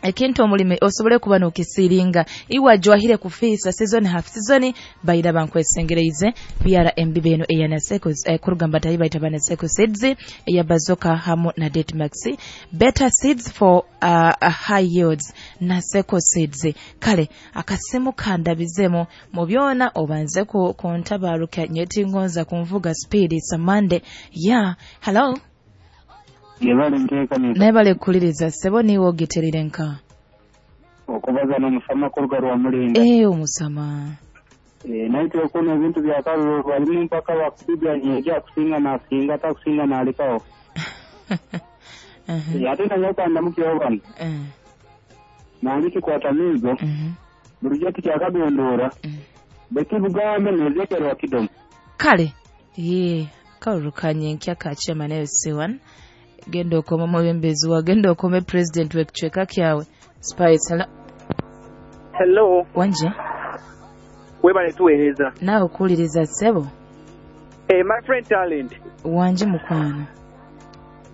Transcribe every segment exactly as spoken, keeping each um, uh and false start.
Ekintu omulimi osobole kuba n'okisiringa iwe ajwahire kufiisa season half season baira bankwesengereize byara embibo eno eya Naseko eh, kuruga mbatayi baita ba Naseko Seeds eya Bazoka hamu na Date Max, better seeds for uh, uh, high yields, Naseko Seeds. Kale akasimu kandabizemu mu byona obanze ku kuntabaruka nyetingonza kunvuga speed. It's a Monday. Yeah, hello. Yebale nteekaniza. Naye kuliriza ssebo, niiwe ogiterire nka okubaza n'omusama kuruga rwa Mulinda. Eh, omusama. Eh, naye twekuna ebintu bya kalulu balimu mpaka bakupiga nyeja akusinga n'asinga atakusinga n'alekawo. Uh-huh. Eh, ate nanyakanda mukyeho bano Eh, nange kikwata miigo mhm. bulijjo tukyakadondoora Mm. bekibugambe nezekerwa kidomo. Kale ye kalulu kanyenkya ka chairman L C one, genda okome omwebembezi wa, genda okome president w'ekicweka kyawe. Spice, hello. Hello. Wanje. Webale tuweereza. Naawe okuwuliriza ssebo. Eh, my friend Talent. Wanje mukwano.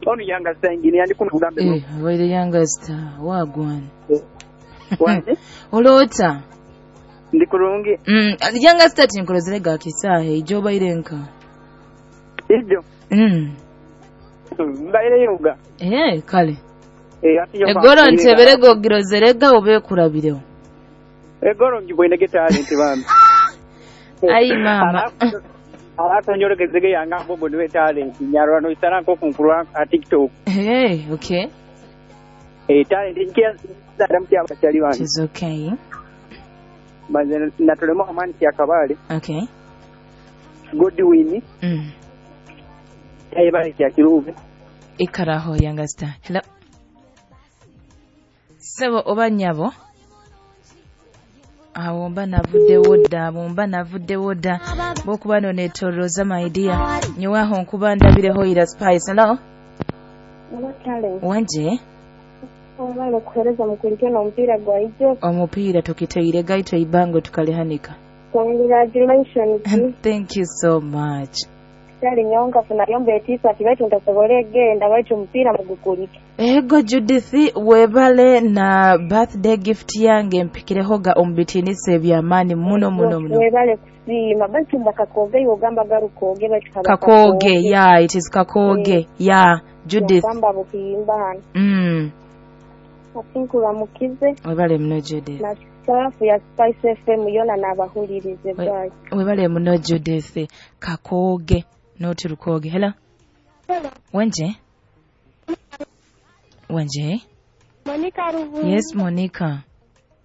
Ono Yanga Star engineer, ndi kuno Bugambe. Eh, waire Yanga Star wagwana. Wanje. Oloota? Ndi kulungi. Mm, Yanga Star tinkolozere ga kisaaha ejo obaire nka Ijo. Mm. Mbaire yoga. Eh, kale. Eh, ati yo. Egoro nteberega ogirozerega oba ekulabirewo? Egoro ngibwine Talent bambi. Ayi maama. Alafu nyolekezege yanga mbogo niwe Talent. Nyarwa no isara nko kunkulwa a TikTok. Hey, okay. Eh, Talent nkia dada mtia abachali wange. It is okay. Banze natolemo amani ya kabale. Okay. Godwin. Mm. Yaye bale kya kiruve. Ikaraho Yanga Star. Hello. Sebo oba nnyabo, awo mba navuddewo dda, abo mba navuddewo dda bwokuba no neetolooza my dear, nyowaho nkuba ndabireho ira. Spice, hello. Talent. Wanje. Obale kuhereza mukulike n'omupiira gwa ijo. Omupiira tukiteire gaito ibango tukalihanika. Congratulations. Thank you so much. Kyali nyonka nayomba etiisati baitu ntasobole egenda baitu omupiira mugukulike. Ego Judith, webale na birthday gift yange mpikireho ga omubitinisa ebyamaani muno muno muno. Webale kusiima baitu mba kakooge iwe ogamba garukooge baitu haba. Kakooge, yeah, it is Kakooge, yeah, Judith. Ogamba buhimba hano. mm. Ati nkuramukize. Webale muno Judith. Na saafu ya Spice F M yona n'abahulirize. We- bwayi. Webale muno Judith. Kakooge noti Lukooge. Hello. Wenje, wenje. Monica Ruvu. Yes, Monica.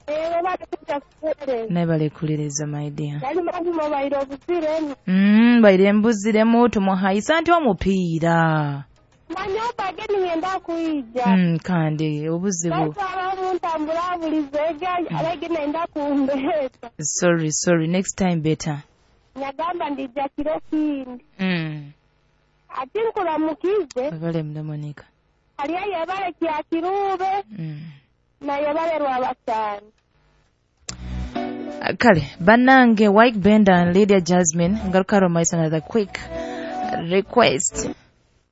Webale kujja kuweereza. Naye kuliriza my dear. Yali mazima obaire obuziremu. mm, baire mbuziremu tumuhayisa nti omupiira. Manya obage ningenda kuija. mm, kandi obuzibu. Baitu abamu ntambula bulizo alege nenda kumbeeta. Sorry, sorry, next time better. Nyagamba ndija kiro kindi. mm. Ati nkuramukize. Webale muno Monica. Haliyo yebale kya kirube. mm. Na yebale lwabasaani. Kale bannange, White Benda and Lydia Jasmine, ngaruka romaisa another quick request.